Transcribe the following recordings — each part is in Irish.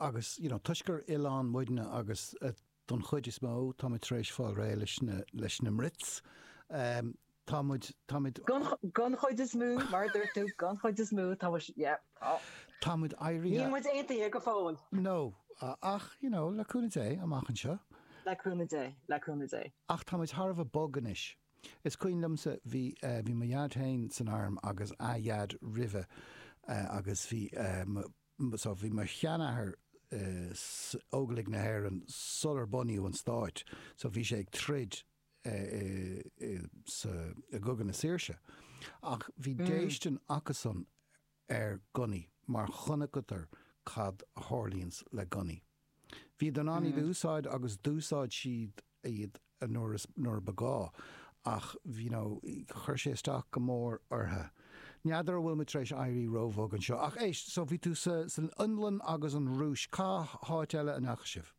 Agus, you know, toisc gur oileán muidne agus don chuid is mó táimid tar éis fáil réidh leis na, leis na mBrits, tá muid, táimid. Don chuid is mó, mar a dúirt tú, don chuid is mó, tá muid, yeah, tá. Tá muid éirithe. Níl muid aontaithe go fóill. No, ach, you know, le cúnamh Dé, amach anseo. Le cúnamh Dé, le cúnamh Dé. Ach tá muid thar a bheith bog anois. Is cuimhin liomsa, bhí, bhí mo dhaid féin san arm agus a dhaid roimhe agus bhí mo, So bhí mo sheanathair in Óglaigh na hÉireann sular bunaíodh an stáit. So bhí sé ag troid sa, i gCogadh na Saoirse. Ach bhí déistin acusan ar gunnaí mar chonaiceadar cad a tharlaíonns le gunnaí. Bhíodar in ann iad a úsáid agus d'úsáid siad iad nuair is, nuair a ba gá ach you know chuir sé isteach go mór orthu. N'fheadar an bhfuil muid tar éis éirí róbhog anseo ach éist, so bhí tú sa, san Fhionlainn agus an Rúis, cá háit eile a ndeachaigh sibh?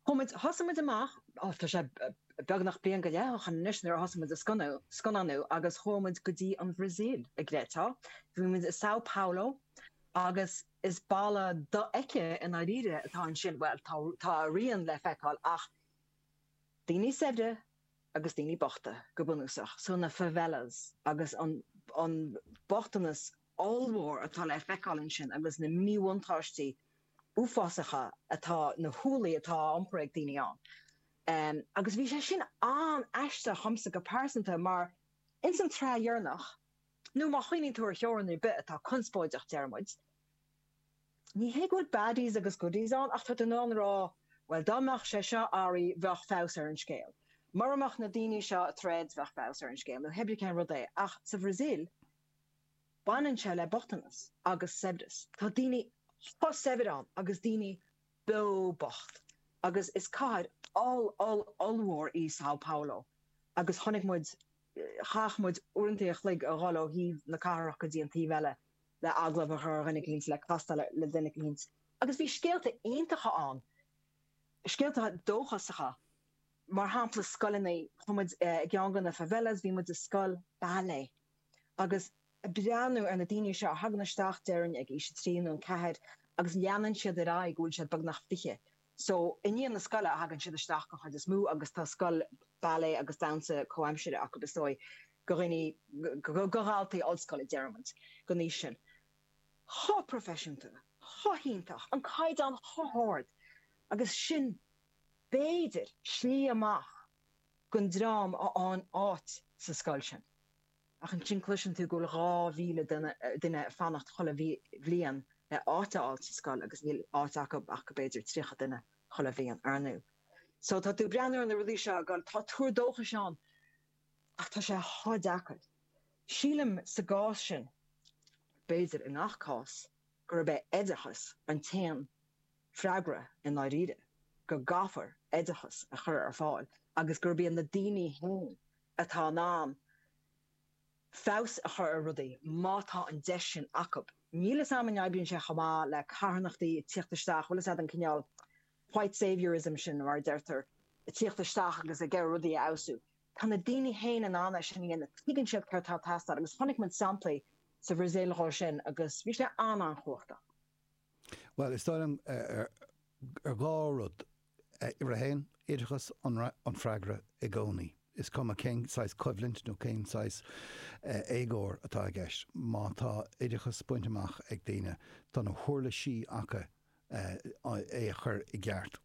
Chuaigh muid, thosaigh muid amach, ó tá sé beagnach bliain go leith ó shin anois nuair a thosaigh muid ag scannánú agus chuaigh muid go dtí an Bhrasaíl, an gcreidfeá. Bhí muid i São Paulo agus is baile dofheicthe i ndáiríre atá ansin, bhuel, tá, tá a rian le feiceáil ach daoine saibhre agus daoine bochta, go bunúsach. So na favelas agus an, an bochtanas ollmhór atá le feiceáil ansin agus na míbhuntáistí uafásacha atá, na hualaí atá á iompar ag daoine ann. Agus bhí sé sin an-aisteach dhomsa go pearsanta mar ins an tsraith dheireanach, Nó má chuimhníonn tú ar theorainn ar bith atá conspóideach, deir muid, ní hé go bhfuil baddies agus goodies ann ach tá tú in ann a rá, bhuel, dá mbeadh sé seo athraithe, bheadh feabhas ar an scéal. Mura mbeadh na daoine seo ag troid, bheadh feabhas ar an scéal, nó hébrí cén rud é. Ach sa Bhrasaíl, baineann sé le bochtanas agus saibhreas. Tá daoine chomh saibhir ann agus daoine beo bocht. Agus is cathair oll-oll-ollmhór í São Paulo agus chonaic muid Chaith muid uaireanta a chloig a dhul ó thaobh na cathrach go dtí an taobh eile le agallamh a chur ar dhuine eicínt, le castáil le duine eicínt. Agus bhí scéalta iontacha ann, scéalta dóchasacha. Mar shampla, scoileanna, chuaigh muid i gceann de na favelas, bhí muid i scoil ballet agus ag breathnú ar na daoine seo a thagann isteach, déarfainn, ag aois a trí nó a ceathair agus leanann siad ar aghaidh go bhfuil siad beagnach 20. So, i ndiaidh na scoile a thagann siad isteach den chuid is mó agus tá scoil ballet agus damhsa comhaimsire acu is dóigh, do dhaoine, do dhaltaí ollscoile déarfaimid, den aois sin. Chomh proifisiúnta, chomh hiontach, an caighdeán chomh hard agus sin, b'fhéidir, slí amach don dream a fhaigheann áit sa scoil sin. Ach ansin cloiseann tú go bhfuil 2,000 duine ag fanacht chuile bhliain le áit a fháil sa scoil agus níl áit acu ach go b'fhéidir 30 duine chuile bhliain, ar ndú. So tá tú ag breathnú ar na rudaí seo ag goil, tá tuar dóchais ann ach tá sé chomh deacair. Sílim sa gcás sin, b'fhéidir i ngach cás, gurb é oideachas an t-aon freagra i ndáiríre, go gcaithfear oideachas a chur ar fáil agus gurb iad na daoine féin atá in ann feabhas a chur ar rudaí má tá an deis sin acu. Níl 'fhios a'm an oibríonn sé chomh maith le carthanachtaí ag tíocht isteach, bhfuil 'fhios a'd an cineál white saviour-ism sin mar a deirtear, ag tíocht isteach agus ag iarraidh rudaí a fheabhsú. Tá na daoine féin in ann é sin a dhéanamh, tuigeann siad céard atá ag teastáil agus chonaic muid samplaí sa Bhrasaíl dhó sin agus bhí sé an-an-chumhachtach. Bhuel, is dóigh liom ar dhá rud. Uimhir a haon, oideachas an freagra i gcónaí. Is cuma cén saghas coimhlint nó cén saghas éagóir atá i gceist, má tá oideachas bainte amach ag daoine, tá na huirlisí acu é a chur i gceart.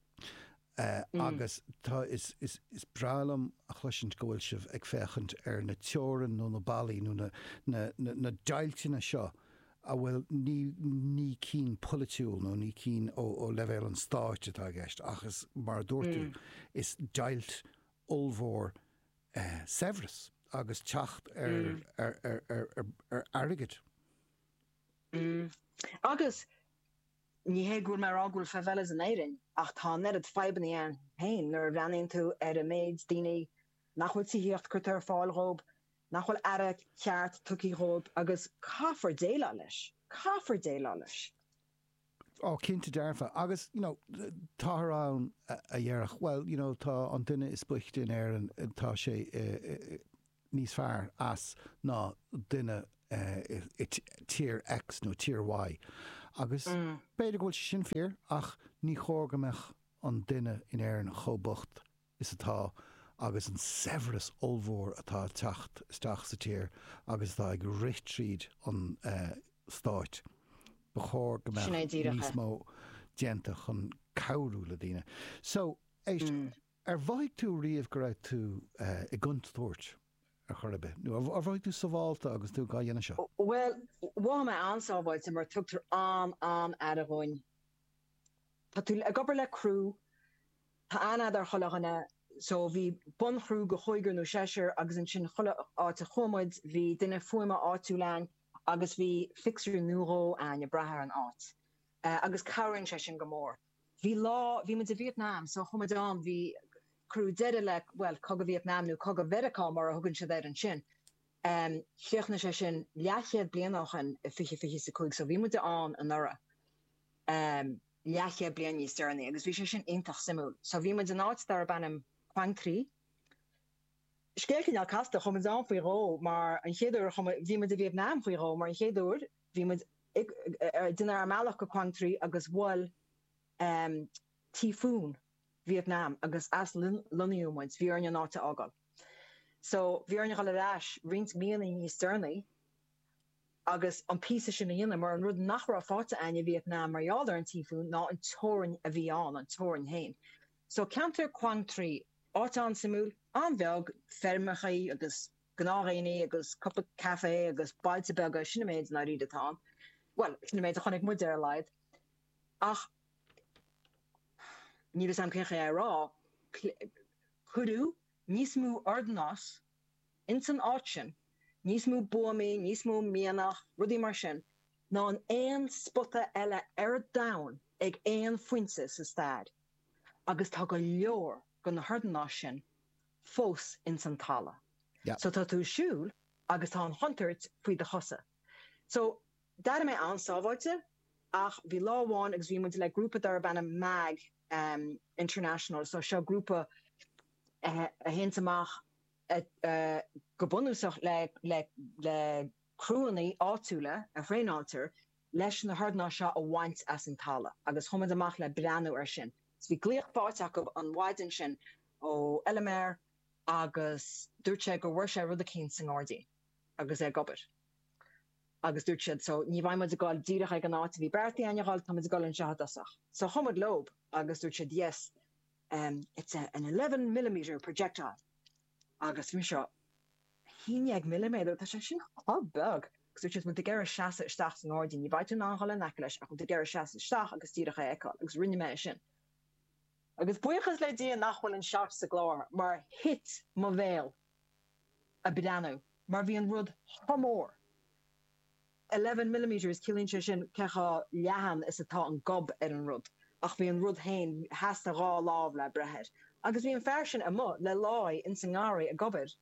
Agus tá, is breá liom a chloisint go bhfuil sibh ag féachaint ar na teorainn nó na ballaí nó na, na, na deighilteanna seo a bhfuil, ní, ní cinn polaitiúil nó ní cinn ó, ó leibhéal an stáit atá i gceist ach is, mar a dúirt tú, is deighilt ollmhór saibhreas agus teacht ar, ar, ar, ar, ar, ar airgead. Agus Ní hé go bhfuil mé ag rá go bhfuil favelas in Éirinn, ach tá an oiread fadhbanna ann féin nuair a bhreathnaíonn tú ar an méid daoine nach bhfuil tithíocht curtha ar fáil dhóibh, nach bhfuil aire ceart tugtha dhóibh agus caithfear déileáil leis. Caithfear déileáil leis. Ó, cinnte dearfa. Agus, you know, táthar ann a dhéarfadh, well, you know, tá an duine is boichte in Éirinn, tá sé i, níos fearr as ná duine i tír X nó tír Y. Agus b'fhéidir go bhfuil sé sin fíor ach ní chóir go mbeadh an duine in Éirinn chomh bocht is atá agus an saibhreas ollmhór atá ag teacht isteach sa tír agus atá ag rith tríd an stáit. Ba chóir go mbeadh níos mó déanta chun cabhrú le daoine. So, éist, ar mhothaigh tú riamh go raibh tú i gcontúirt ar chor ar bith? Nó ar mhothaigh tú sábháilte agus tú á dhéanamh seo? Bhuel, mhothaigh mé an-sábháilte mar tugtar an-an-aire dhúinn. Tá tú ag obair le criú, tá aithne a'd ar chuile dhuine, so bhí bunchriú de chúigear nó seisear agus ansin chuile áit a chuaigh muid bhí duine fuaime áitiúil a'ainn agus bhí fixer nó dhó a'ainn ag brath ar an áit. Agus cabhraíonn sé sin go mór. Bhí lá, bhí muid i Vietnam so chuaigh muid ann, bhí, cuireadh deireadh le, bhuel, Cogadh Vietnam nó Cogadh Mheiriceá mar a thugann siad air ansin. Chríochnaigh sé sin leathchéad bliain ó shin i 2025 so bhí muid ann anuraidh. leathchéad bliain níos deireanaí agus bhí sé sin iontach suimiúil. So bhí muid in áit darb ainm Quang Tri. Scéal cineál casta, chuaigh muid ann faoi dhó mar an chéad uair a chuaigh muid, bhí muid i Vietnam faoi dhó mar an chéad uair bhí muid ag déanamh ár mbealach go Quang Tri agus bhuail tíofún Vietnam agus aslonnaíodh muid, bhí orainn an áit a fhágáil. So bhí orainn a dhul ar ais roinnt míonna níos deireanaí agus an píosa sin a dhéanamh, mar an rud nach raibh faighte a'ainn i Vietnam mar gheall ar an tíofún ná an teorainn a bhí ann, an teorainn féin. So ceantar Quang Tri, áit an-suimiúil, an-bheag, feirmeachaí agus gnáthdhaoine agus cúpla café agus bailte beaga, sin an méid i ndáiríre atá ann. Bhuel, sin an méid a chonaic muid ar a laghad. Ach níl 'fhios a'm cén chaoi é a rá, cuireadh níos mó ordanáis ins an áit sin, níos mó buamaí, níos mó mianach, rudaí mar sin, ná in aon spota eile ar domhan ag aon phointe sa stair. Agus tá go leor de na hordanáis sin fós ins an talamh. So tá tú ag siúl agus tá an chontúirt faoi do chosa. So d'airigh mé an-sábháilte ach bhí lá amháin agus bhí muid le grúpa darb ainm MAG International, so seo grúpa a théanns amach go bunúsach le criúanna áitiúla a thraenáiltear leis na hordanáis seo a bhaint as an talamh agus chuaigh muid amach le breathnú air sin. So bhí glaoch faighte acu an mhaidin sin ó fheilméara agus dúirt sé go bhfuair sé rud eicínt sa ngairdín agus é ag obair agus dúirt siad so ní bheidh muid ag dul díreach ag an áit a bhí beartaithe againn a dhul, tá muid ag dul anseo i dtosach. So chuaigh muid leob agus dúirt siad yes, it's an 11 millimetre projectile. Agus bhí mise, 11 milliméadar, tá sé sin chomh beag! Agus dúirt siad, bhfuil tú ag iarraidh seasamh isteach sa ngairdín, ní bheidh tú in ann dhul in aice leis ach bhfuil tú ag iarraidh seasamh isteach agus díreach é a fheiceáil. Agus rinne mé é sin. Agus buíochas le Dia nach bhfuil an shot sa gclár mar thit mo bhéal ag breathnú mar bhí an rud chomh mór. 11 millimetres, ciallaíonn sé sin cé chomh leathan is atá an gob ar an rud, ach bhí an rud féin, theastaigh dhá lámh le breith air. Agus bhí an fear sin amuigh le láí ins an ngarraí ag obair,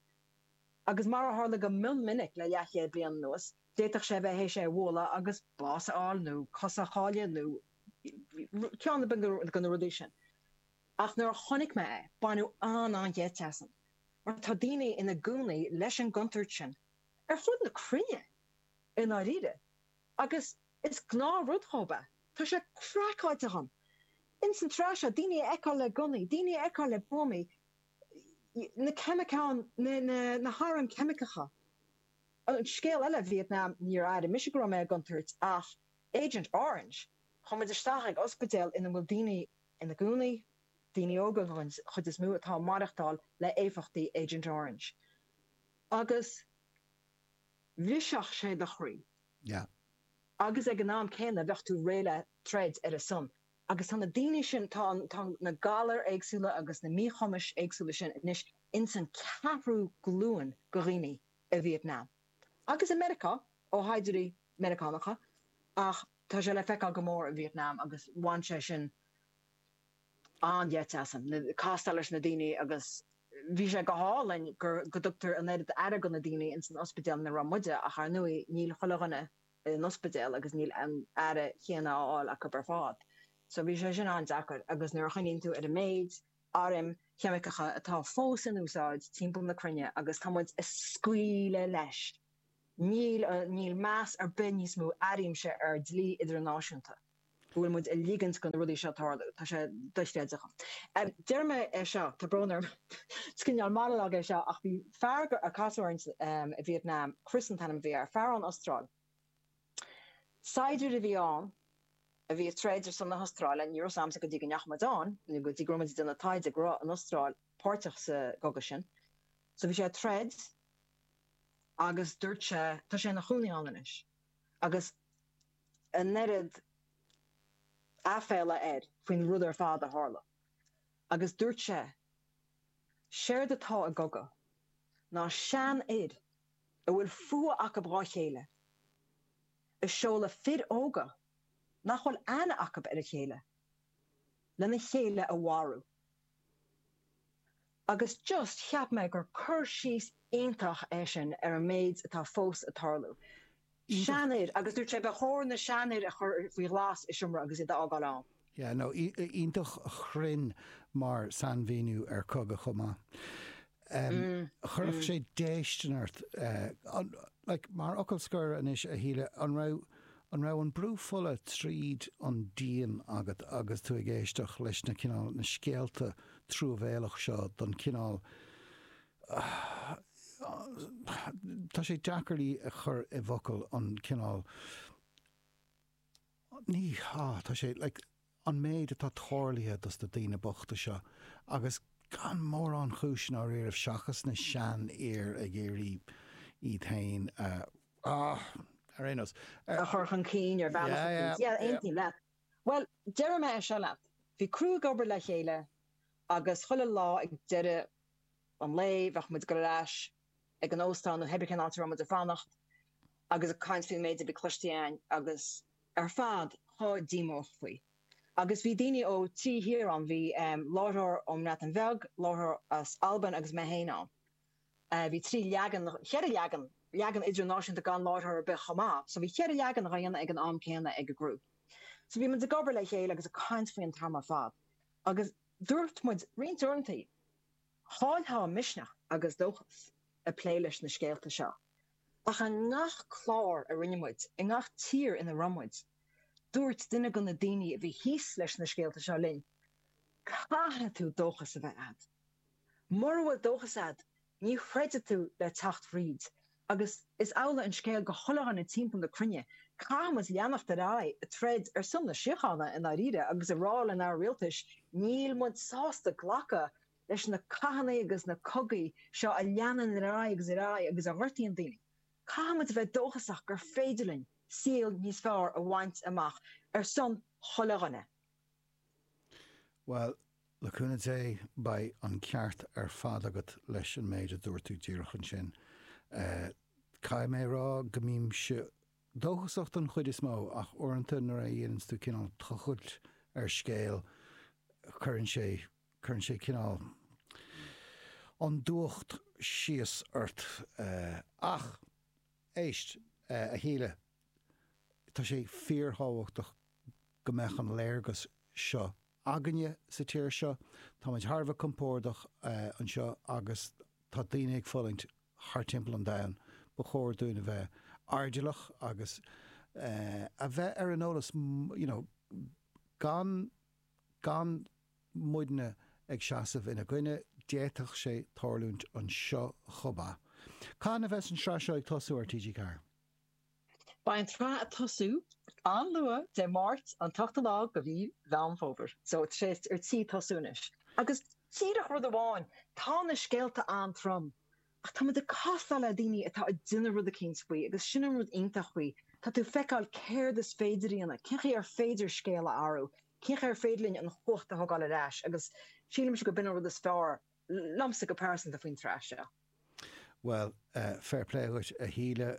agus mar a tharla go mion minic le leathchéad bliain anuas, d'fhéadfadh sé a bheith théis é a bhualadh agus bás a fháil nó cos a chailleadh nó ceann ar bith de na rudaí sin. Ach nuair a chonaic mé é, baineadh an-an-gheit asam, mar tá daoine ina gcónaí leis an gcontúirt sin ar fud na cruinne, i ndáiríre, agus is gnáthrud dhóibh é. Tá sé craiceáilte dhom. Ins an tsraith seo, daoine a fheiceáil le gunnaí, daoine a fheiceáil le buamaí, na ceimiceáin, na hairm cheimiceacha. An scéal eile, Vietnam, níor airigh mise go raibh mé i gcontúirt ach Agent Orange, chuaigh muid isteach ag ospidéal ina bhfuil daoine ina gcónaí, daoine óga den chuid is mó, atá ag maireachtáil le éifeachtaí Agent Orange. Agus bhrisfeadh sé do chroí. Yeah. Agus ag an am céanna bheadh tú réidh le troid ar a son. Agus tá na daoine sin, tá an, tá na galair éagsúla agus na míchumais éagsúla sin anois ins an ceathrú glúin de dhaoine i Vietnam. Agus i Meiriceá, ó shaighdiúirí Meiriceánacha, ach tá sé le feiceáil go mór i Vietnam agus bhain sé sin an-gheit asam, castáil leis na daoine agus bhí sé go hálainn gur, go dtugtar an oiread aire do na daoine ins an ospidéal ina raibh muide ach ar ndóigh níl chuile dhuine in ospidéal agus níl an aire chéanna á fháil acu ar fad. So bhí sé sin an-deacair agus nuair a chuimhníonn tú ar an méid airm cheimiceacha atá fós in úsáid timpeall na cruinne agus tá muid ag scaoileadh leis. Níl, níl meas ar bith níos mó, airímse, ar dlí idirnáisiúnta. Go bhfuil muid ag ligint do na rudaí seo tarlú. Tá sé dochreidte. Déarfaidh mé é seo, tá brón orm, is cineál monologue é seo, ach bhí fear a casadh orainn i Vietnam, Chris an t-ainm a bhí air, fear ón Astráil. Saighdiúir a bhí ann a bhí ag troid ar son na hAstráile, ní raibh a fhios a'msa go dtí go ndeachaigh muid ann, nó go dtí go raibh muid ag déanamh taighde go raibh an Astráil páirteach sa gcogadh sin. So bhí sé ag troid agus dúirt sé, tá sé ina chónaí ann anois, agus an oiread aiféala air faoin rud ar fad a tharla. Agus dúirt sé, séard atá i gcogadh ná seanfhir a bhfuil fuath acu dhá chéile, ag seoladh fir óga nach bhfuil aithne acu ar a chéile, lena chéile a mharú. Agus just cheap mé gur cur síos iontach é sin ar an méid atá fós ag tarlú. Seanfhir, agus dúirt sé ba chóir na seanfhir a chur faoi ghlas i seomra agus iad a fhágáil ann. Yeah, no, iontach chruinn mar sainmhíniú ar cogadh chomh maith. Chuirfeadh sé déistin ort, like, mar fhocal scoir anois, a Shíle, an raibh, an raibh an brú fola tríd an díon agat agus tú ag éisteacht leis na cineál, na scéalta truamhéalach seo don cineál, tá sé deacair í a chur i bhfocail, an cineál, ní, ah, tá sé, like, an méid atá tarlaithe dos na daoine bochta seo agus gan mórán chúis i ndáiríribh seachas na seanfhir ag iarraidh iad féin a, ah, ar aon nós. a chur chun cinn ar bhealach Yeah, yeah, éicint. Yeah, yeah. aontaím leat. Bhuel, déarfaidh mé é seo leat, bhí criú ag obair le chéile agus chuile lá ag deireadh an lae bheadh muid ag dul ar ais ag an óstán nó cibé cén áit a raibh muid ag fanacht agus ag caint faoin méid a bhí cloiste againn agus ar fad chomh díomách faoi. Agus bhí daoine ó thrí thír ann, bhí láithreoir ón mBreatain Bheag, láithreoir as Albain agus mé féin ann. Bhí trí leagan, cheithre leagan, leagan idirnáisiúnta gan láithreoir ar bith chomh maith, so bhí cheithre leagan á dhéanamh ag an am céanna ag an gcriú. So bhí muid ag obair le chéile agus ag caint faoi an t-am ar fad agus dúirt muid roinnt uaireanta, Chaillfeá misneach agus dóchas ag plé leis na scéalta seo. Ach i ngach clár a rinne muid, i ngach tír ina raibh muid, dúirt duine de na daoine a bhí thíos leis na scéalta seo linn, 'Caithfidh tú dóchas a bheith a'd. Mura bhfuil dóchas a'd, ní throidfidh tú le teacht fríd. Agus is amhlaidh an scéal do chuile dhuine timpeall na cruinne, caithfidh muid leanacht ar aghaidh ag troid ar son na síochána i ndáiríre agus ag rá lenár rialtais níl muid sásta glacadh leis na cathanna agus na cogaí seo a leanann ar aghaidh agus ar aghaidh agus a ghortaíonn daoine. Caithfidh muid a bheith dóchasach gur féidir linn saol níos fearr a bhaint amach ar son chuile dhuine. Bhuel, le cúnamh Dé, beidh an ceart ar fad agat leis an méid a dúirt tú díreach ansin. Caithfidh mé a rá go mbímse dóchasach don chuid is mó, ach uaireanta nuair a dhéananns tú cineál tochailt ar scéal, cuireann sé, cuireann sé cineál an dúthracht síos ort. Ach, éist, a Shíle, tá sé fíorthábhachtach go mbeadh an léargas seo againne sa tír seo. Táimid thar a bheith compordach anseo agus tá daoine ag fulaingt thar timpeall an domhain. Ba chóir dúinn a bheith airdeallach agus a bheith ar an eolas, you know, gan, gan muidne ag seasamh ina gcoinne, d'fhéadfadh sé tarlúint anseo chomh maith. Cathain a bheas an tsraith seo ag tosú ar TG4? Beidh an tsraith ag tosú an-luath, Dé Máirt an t-ochtú lá de mhí Mheán Fómhair. So tá sé ar tí tosú anois. Agus díreach rud amháin, tá na scéalta an-trom, ach tá muid ag castáil le daoine atá ag déanamh rud eicínt faoi agus sin an rud iontach faoi, tá tú ag feiceáil céard is féidir a dhéanamh, cén chaoi ar féidir scéal a athrú, cén chaoi ar féidir linn an chumhacht a thógáil ar ais agus sílimse go b'in an rud is fearr liomsa go pearsanta faoin tsraith seo. Bhuel, fair play dhuit, a Shíle.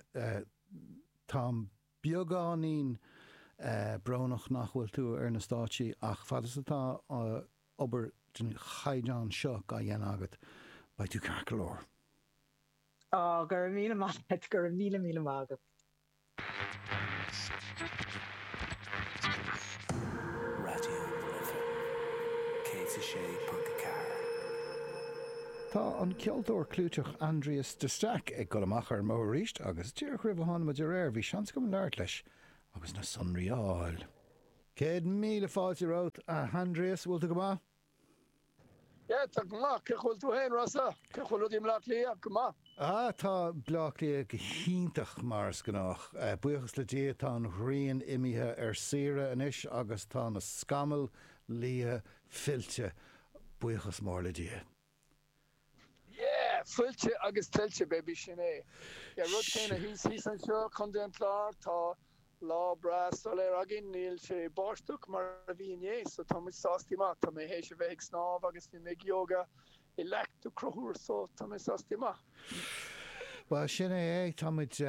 Táim beagáinín brónach nach bhfuil tú ar na stáitsí ach fad is atá obair den chaighdeán seo á dhéanamh agat, beidh tú ceart go leor. Á, go raibh míle maith agat, go raibh míle míle maith agat. Raidió na Life 106.4. Tá an ceoltóir clúiteach Aindrias de Staic ag dul amach ar an mbóthar arís agus díreach roimh a tháinig muid ar aer bhí seans agam labhairt leis agus na sonraí a fháil. 100,000 fáilte romhat, a Aindrias, bhfuil tú go maith? Yeah, tá go maith. Cén chaoi bhfuil tú féin, Rossa? Cén chaoi bhfuil rudaí i mBleá Cliath? Go maith. Ah, tá Bleá Cliath go hiontach mar is gnách. Buíochas le Dia tá an ghrian imithe ar saoire anois agus tá na scamaill liatha fillte. Buíochas mór le Dia. Yeah, fillte agus tuillte, baby, sin é. Yeah, rud céanna thíos, thíos anseo, Contae an Chláir, tá lá breá soiléir againn, níl sé báisteach mar a bhí inné, so tá muid sástaí maith. Tá mé théis a bheith ag snámh agus bhí mé ag yoga i Leac do Chonchúir, so tá mé sástaí maith. Bhuel, sin é é, tá muid,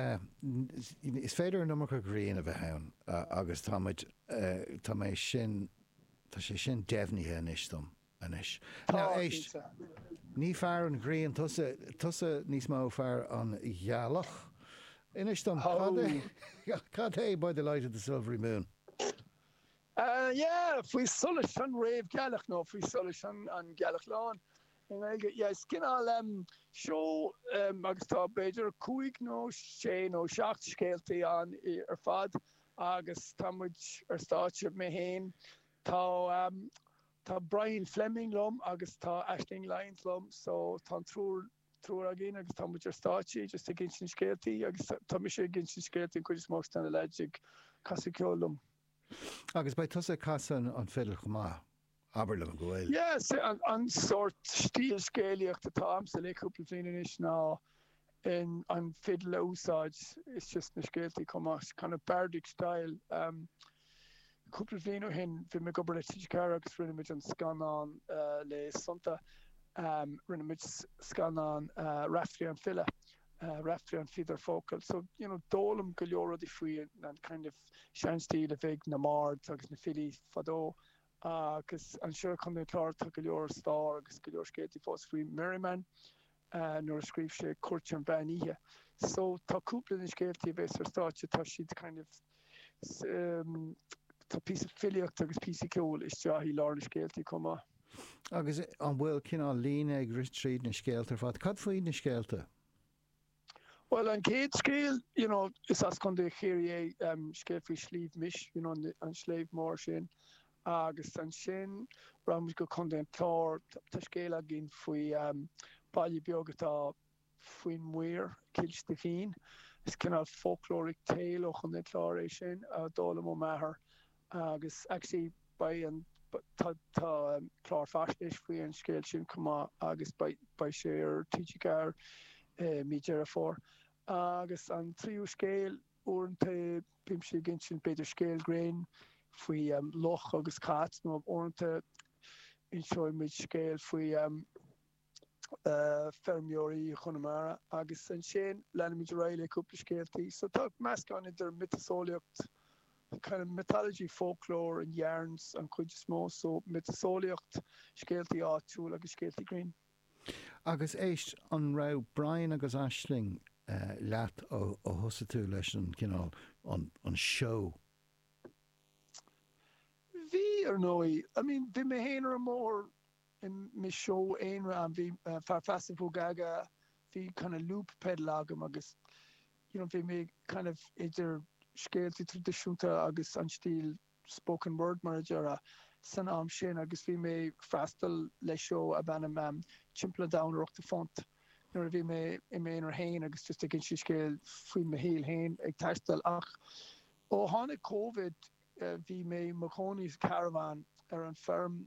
is féidir an iomarca grian a bheith ann agus tá muid, tá mé sin, tá sé sin deimhnithe anois dom. anois. Now, éist, ní fear an ghrian tusa, tusa níos mó fear an ghealach. Inis dom, cad é, cad é By the Light of the Silvery Moon? Yeah, faoi solas an réamhghealach nó faoi solas an ghealach lán i nGaeilge. Yeah, is cineál seó agus tá b'fhéidir cúig nó sé nó seacht scéaltaí ann ar fad agus tá muid ar stáitse, mé féin, tá Tá Brian Fleming liom agus tá Aisling Lyons liom so tá an triúr, triúr againn agus tá muid ar stáitse just ag insint scéaltaí agus tá mise ag insint scéaltaí an chuid is mó agus tá na lads ag casadh ceoil liom. Agus beidh tusa ag casadh an fidil chomh maith, abair liom go bhfuil. Yeah, an sórt stíl scéalaíocht atá a'msa le cúpla bliain anois ná in an fidil a úsáid is just na scéaltaí chomh maith, kind of bardic style. Cúpla bliain ó shin bhí mé ag obair le TG4 agus rinne muid an scannán le Sonnta, rinne muid scannán Raiftearaí an File, Raiftearaí an Phíobaire Focal. So, you know, d'fhoghlaim go leor rudaí faoi an kind of seanstíl a bhí ag na mbards agus na filí fadó agus anseo i Contae an Chláir tá go leor stair agus go leor scéaltaí fós faoi Merriman. nuair a scríobh sé Cúirt an Mheán Oíche. So tá cúpla de na scéaltaí a bheas ar stáitse, tá siad kind of, tá píosa filíochta agus píosa ceoil isteach i lár na scéaltaí chomh maith. Agus an bhfuil cineál líne ag rith tríd na scéalta ar fad? Cad faoi na scéalta? Bhuel, an chéad scéal, you know, is as Contae Chiarraí é, scéal faoi Sliabh Mis, you know, an sliabh mór sin. Agus ansin rachaidh muid go Contae an Chláir, tá scéal againn faoi baile beag atá faoin muir, Cill Stifín. Is cineál folkloric tale ó Chontae an Chláir é sin, a d'fhoghlaim ó m'athair. Agus actually beidh an, tá clár faisnéis faoi an scéal sin chomh maith agus beidh sé ar TG4 i mí Deireadh Fómhair. Agus an tríú scéal, uaireanta bímse ag insint b'fhéidir scéal grinn faoi luch agus cat nó uaireanta inseoidh muid scéal faoi feirmeoirí Chonamara agus ansin leanfaimid ar aghaidh le cúpla scéaltaí. So tá meascán idir miotaseolaíocht, kind of mythology, folklore and yarns an chuid is mó, so miotaseolaíocht, scéaltaí áitiúil agus scéaltaí grinn. Agus éist, an raibh Brian agus Aisling leat ó thosaigh tú leis an cineál, an seó? Bhí, ar ndóigh. I mean, bhí mé féin ar an mbóthar i mo seó aonair ann, bhí Fear Feasa Bhugaga, bhí kind of loop pedal agam agus you know bhí mé kind of idir scéaltaí traidisiúnta agus an stíl spoken word mar a déarfá san am sin agus bhí mé ag freastal le seó ab ainm Timpeall an Domhain ar Ochtó Phunt nuair a bhí mé i m'aonar féin agus just ag insint scéal faoi mo shaol féin ag taisteal ach ó tháinig Covid Bhí mé i mo chónaí sa caravan ar an feirm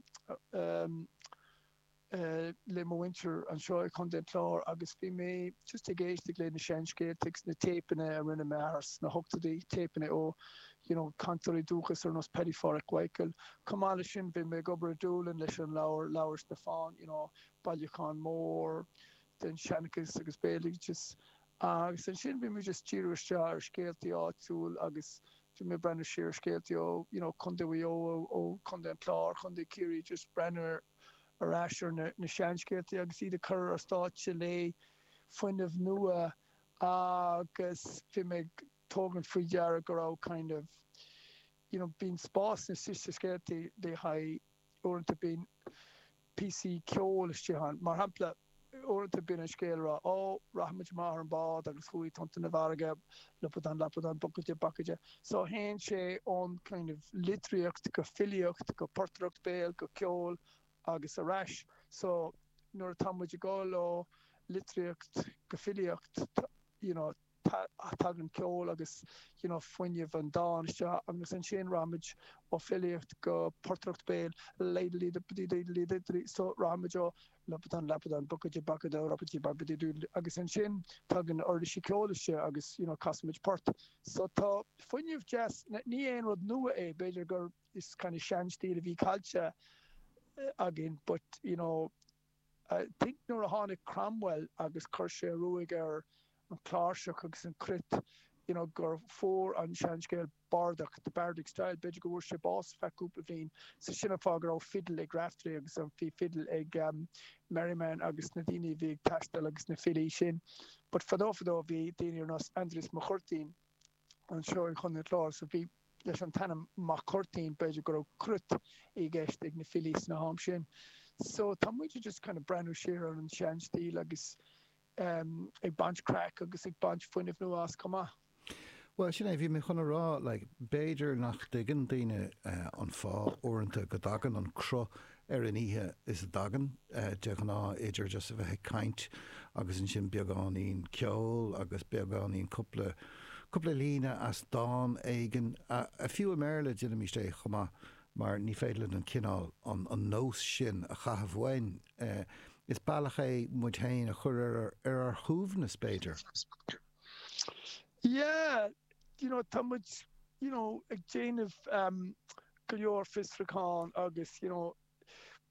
le mo mhuintir anseo i Contae an Chláir agus bhí mé just ag éisteacht le na seanscéalta agus na téipeanna a rinne m'athair sna hochtóidí, téipeanna ó you know cainteoirí dúchais ar nós Paddy Pháraic Mhichael. Chomh maith leis sin bhí mé ag obair i Doolin leis an leabhar, Leabhar Stiofáin, you know bailiúchán mór den seanchas agus béaloideas. Agus ansin bhí mé just díriú isteach ar scéaltaí áitiúil agus Bhí mé ag breathnú siar ar scéaltaí ó you know Contae Mhaigh Eo, ó Chontae an Chláir, Contae Chiarraí, just breathnú ar ais ar na seanscéaltaí agus iad a chur ar stáitse le fuinneamh nua agus bhí mé ag tógaint faoi deara go raibh kind of you know bíonn spás istigh sna scéaltaí le haghaidh uaireanta bíonn píosaí ceoil istigh ann. Mar shampla. Uaireanta bíonn an scéal ag rá, Ó, rachaidh muid amach ar an bád agus chuaigh tonnta na farraige, lupadán lapadán, bucaide bacaide. So théann sé ón kind of litríocht go filíocht go portaireacht béil go ceol agus ar ais. So nuair atá muid ag dul ó litríocht go filíocht, you know, tagann ceol agus you know fuinneamh an dáin isteach agus ansin rachaimid ó filíocht go portaireacht béil laidlidibdididlididli so rachaimid ó lupadán lapadán bucaide bacada rupaidí babaididúdli agus ansin tagann uirlisí ceoil isteach agus you know casaimid port. So tá fuinneamh deas, ní aon rud nua é, b'fhéidir gur is kind of seanstíl a bhí caillte againn but you know I think nuair a tháinig Cromwell agus chuir sé ruaig ar an chláirseach agus an cruit, you know, gur fuair an seanscéal bardach, the bardic style, b'fhéidir go bhfuair sé bás feadh cúpla bliain, so sin an fáth go raibh fidil ag Raftery agus an bhí fidil ag Merriman agus na daoine a bhí ag taisteal agus na filí sin. But fadó fadó bhí daoine ar nós Aindrias Mac Cuirtín anseo i Chontae an Chláir so bhí leis an t-ainm Mac Cuirtín, b'fhéidir go raibh cruit i gceist ag na filí sna ham sin. So tá muid just kind of breathnú siar ar an sean-stíl agus ag baint craic agus ag baint fuinneamh nua as chomh maith. Bhuel, sin é, bhí mé chun a rá, like, b'fhéidir nach dtuigeann daoine an fáth uaireanta go dtagann an cruth ar an oíche is a dtagann, de ghnáth, idir just a bheith ag caint agus ansin beagáinín ceoil agus beagáinín cúpla, cúpla líne as dán éigin, fiú i mBéarla déanaimist é chomh maith mar ní féidir linn an cineál, an, an nós sin a chaitheamh uainn. Is bealach é muid féin a chur ar, ar ár shuaimhneas, b'fhéidir. Yeah, you know, tá muid, you know, ag déanamh go leor fiosrúchán agus, you know,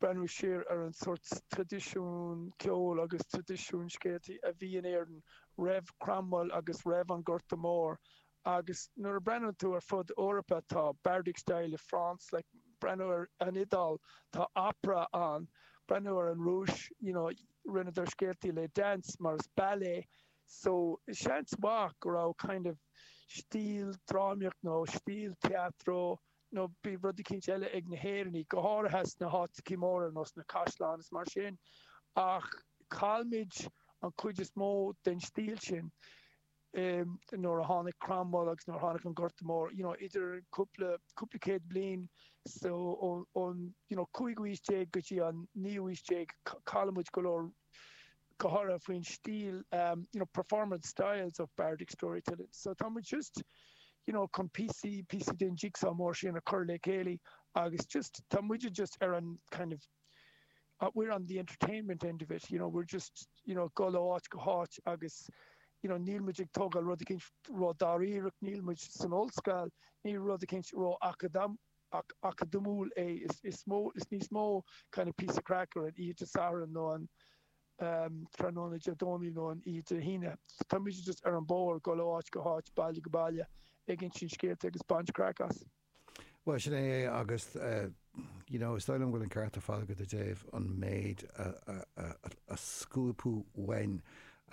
breathnú siar ar an sórt traidisiún ceoil agus traidisiún scéaltaí a bhí in Éirinn roimh Cromwell agus roimh an Gorta Mór agus nuair a breathnaíonn tú ar fud Eorpa tá bardic style i France, like breathnú ar an Iodáil tá opera ann, breathnú ar an Rúis, you know, rinneadar scéaltaí le dance mar is ballet So, seans mhaith go raibh kind of stíl drámaíocht nó stíl teatro nó bhí rud eicínt eile ag na hÉireannaigh, go háirithe sna háiteachaí móra ar nós na caisleáin is mar sin, ach chaill muid an chuid is mó den stíl sin nuair a tháinig Cromwell agus nuair a tháinig an Gorta Mór, you know, idir cúpla, cúpla céad bliain, so ón, you know, cúigiú haois déag go dtí an naoú haois déag, chaill muid go leor go háirithe faoin stíl you know performance styles of bardic storytelling. So tá muid just you know chun píosaí píosaí den jigsaw mór sin a chur le chéile agus just tá muide just ar an kind of uh, we're on the entertainment end of it, you know, we're just you know dul ó áit go háit agus you know níl muid ag tógáil rud eicínt ró-dáiríreach, níl muid san ollscoil, níl rud eicínt ró-acadam acadamúil é, is mó, is níos mó kind of píosa craic ar an oíche Dé Sathairn nó an tráthnóna Dé Domhnaigh nó an oíche Dé hAoine. Tá muid just ar an bhóthar, dul ó áit go háit, baile go baile, ag insint scéalta agus baint craic as. Bhuel, sin é é agus you know, is dóigh liom go bhfuil an ceart ar fad agat i dtaobh an méid a scuabadh uainn,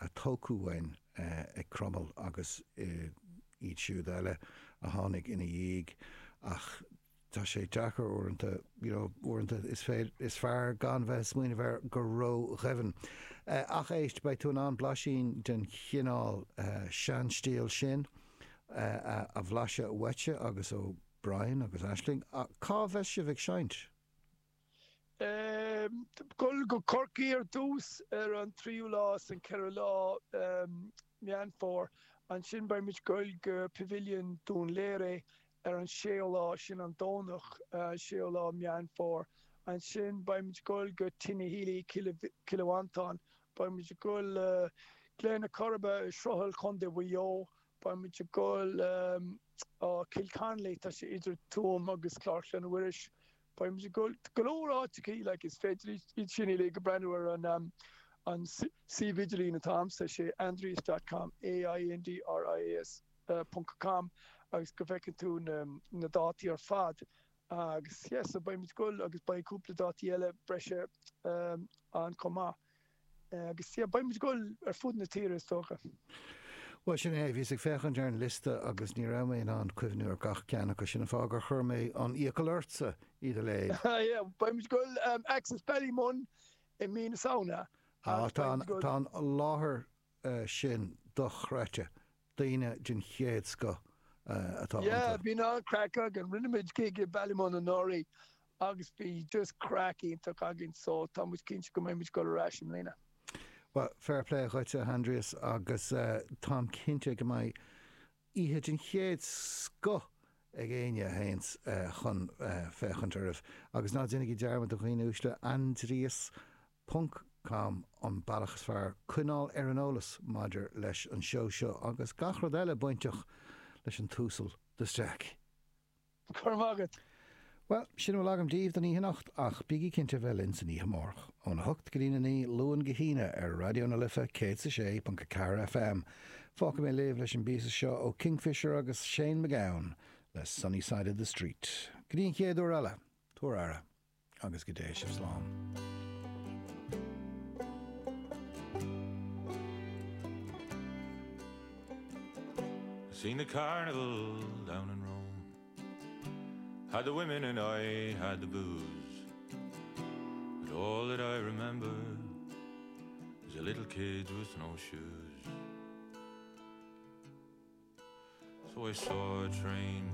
a tógadh uainn ag Cromail agus iad siúd eile a tháinig ina dhiaidh ach tá sé deacair uaireanta, you know, uaireanta is féidir, is fearr gan bheith ag smaoineamh air go ró-dhoimhin. Ach éist, beidh tú in ann blaisín den chineál seanstíl sin a bhlaiseadh uaitse agus ó Brian agus Aisling. Cá bheas sibh ag seinnt? Dul go Corcaigh ar dtús ar an tríú lá is an ceathrú lá Meán Fómhair. Ansin beidh muid ag dul go Pavilion Dún Laoghaire ar an séú lá, sin an Domhnach, séú lá Meán Fómhair. Ansin beidh muid ag dul go Tinahely, Cill Mhantáin. Beidh muid ag dul Gleann na Coiribe i Sruthal, Contae Mhaigh Eo. Beidh muid ag dul Cill Connolly, tá sé idir Tuaim agus Clár Chlainne Mhuiris. Beidh muid ag dul go leor áiteachaí, like, is féidir iad sin uilig a breathnú ar an an suíomh idirlín atá a'msa, sé aindrias dot com, A-I-N-D-R-I-A-S ponc com, agus go bhfeiceann tú na na dátaí ar fad agus yeah, so beidh muid ag dul agus beidh cúpla dátaí eile breise ann chomh maith. Agus yeah, beidh muid ag dul ar fud na tíre is dócha. Bhuel, sin é, bhíos ag féachaint ar an liosta agus ní raibh mé in ann cuimhniú ar gach ceann acu, sin an fáth gur chuir mé an iachall ortsa iad a léamh. Yeah, beidh muid ag dul Axis Ballymun i mí na Samhna. Á, tá an, tá an láthair sin dochreidte. Daoine den chéad scoth atá iontu. Yeah, bhí an-chraic againn. Rinne muid gig i Ballymun anuraidh agus bhí just craic iontach againn so tá muid cinnte go mbeidh muid ag dul ar ais i mbliana. Bhuel, fair play dhuit, a Aindrias, agus táim cinnte go mbeidh oíche den chéad scoth ag éinne a théanns chun féachaint oraibh. Agus ná déanaigí dearmad, a dhaoine uaisle, Aindrias ponc com an bealach is fearr coinneáil ar an eolas maidir leis an seó seo agus gach rud eile bainteach leis an tUasal de Staic. Go raibh maith agat. Bhuel, sin a bhfuil agam daoibh don oíche anocht, ach bígí cinnte a bheith linn san oíche amárach, óna hocht go dtína naoi, Luan go hAoine, ar Raidió na Life 106.4 FM. Fágfaidh mé libh leis an bpíosa seo ó Kingfisher agus Shane MacGowan le Sunny Side of the Street. Go dtí an chéad uair eile, tabhair aire, agus go dté sibh slán. Seen the carnival down in Rome Had the women and I had the booze But all that I remember Is the little kids with no shoes So I saw a train.